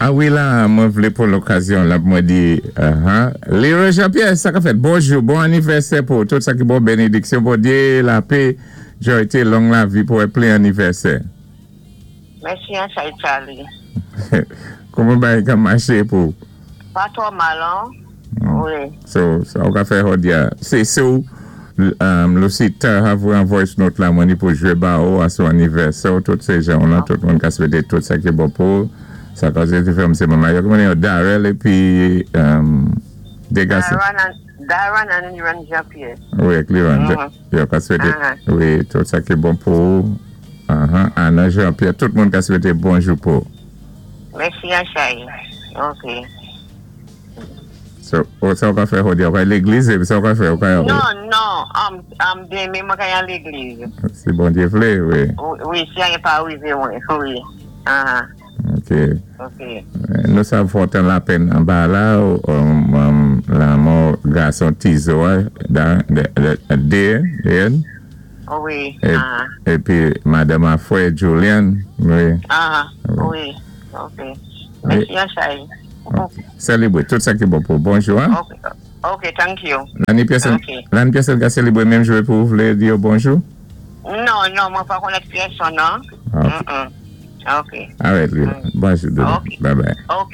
A wi la, mwen vlé pou lokazyon la mwen di, Leroy Jean-Pierre, sa ka fèt, bonjou, bon anivèsè pou tout sa ki bon, benediksyon, Bondyé, lapè, jwa, long lavi pou plen anivèsè. Mèsi, Ansay Charlie. Kouman bagay ka maché pou? Pa twò mal, an? Wi. So, sa ou ka fè jòdi a. Sé sou, Lucita a voyé an voice note la mwen ni pou jwé ba ou a son anivèsè, tout sé jan la, tout moun ka swété tout sa ki bon pou. Sa ka sé fè msé manman. Yo kouman yo Darrell épi Degason. Darren and Liran Jean-Pierre. Wi, ak Liran. Yo ka swété, wi, tout sa ki bon pou. Anna Jean-Pierre, tout moun ka swété bonjou pou. Mèsi, Ansay. Ok. So, sa ou ka fè jòdi a? Ou ka légliz, sa ou ka fè? Ou ka Non, non, denmen mwen ka al légliz. Si Bondyé vlé, wi. Wi, si anyen pa rivé mwen, wi. Ok. Ok. Nou sav fòtan lapenn anba la, lanmò gason Tizo a, de, Wi. Épi madanm a frè Julian, wi. Wi, ok. Mèsi, Ansay. Selebré, tout sa ki bon pou. Bonjou, an? Ok, ok, thank you. Lani pyèsòn ka selebré menm jou pou vlé di yo bonjou? Non, mwen pa konnèt pyèsòn, non. Ok. Alright, bonjou. Ok. Bye bye. Ok.